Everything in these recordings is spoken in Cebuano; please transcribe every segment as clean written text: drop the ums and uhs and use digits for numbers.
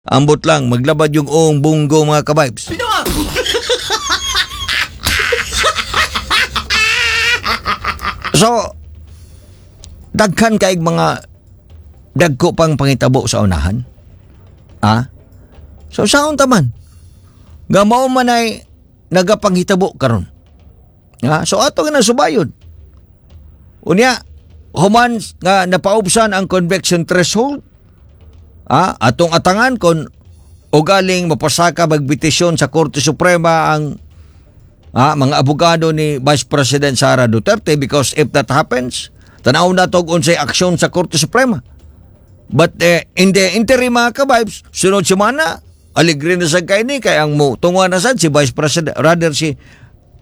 Ambot lang, maglabad yung oong bunggo, mga kabibes. So, daghan kay mga dagko pang pangitabo sa unahan. Ah? So, saon taman? Nga mao man ay nagapanghitabo karon. Ah, so ato nga nasubayod. Unya, human nga napaubsan ang conviction threshold, atong atangan kon ugaling mapasaka magpetisyon sa Korte Suprema ang mga abogado ni Vice President Sara Duterte, because if that happens, tanaw na to unsay aksyon sa Korte Suprema. But in the interim, mga kabibes, sunod semana, aligre na sa kay ni kay ang mo tunga na sad si Vice President, rather si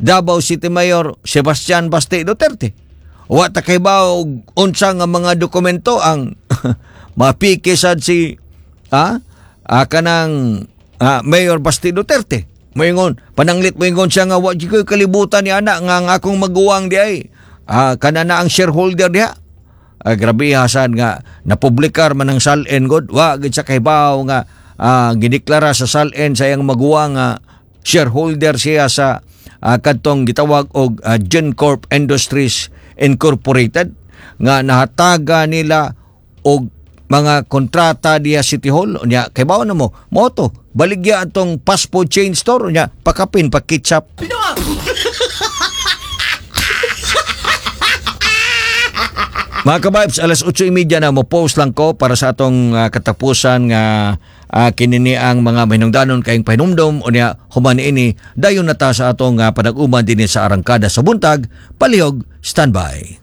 Davao City Mayor Sebastian Baste Duterte. Wa ta kay ba og unsa nga mga dokumento ang mapiki sad si kanang Mayor Basti Duterte. Moingon, pananglit moingon siya nga wa jud ko'y kalibutan ni ana nga ang akong maguwang di ay kana na ang shareholder diha. Grabe hasan nga napublikar man ang SALN god, wa gid sa kahibaw nga gideklara sa SALN sa iyang maguwang nga shareholder siya sa kadtong gitawag og Gencorp Industries Incorporated nga nahataga nila og mga kontrata diya City Hall. Unya kay bawo na mo moto baligya atong fast food chain store, unya pakapin pa ketchup. Mga kabibes, alas 8:30 na, mo post lang ko para sa atong katapusan nga kinini ang mga mahinungdanon kayong pahinumdom. Unya human ini, dayon na ta sa atong panag-uman dinhi sa Arangkada sa Buntag. Palihog standby.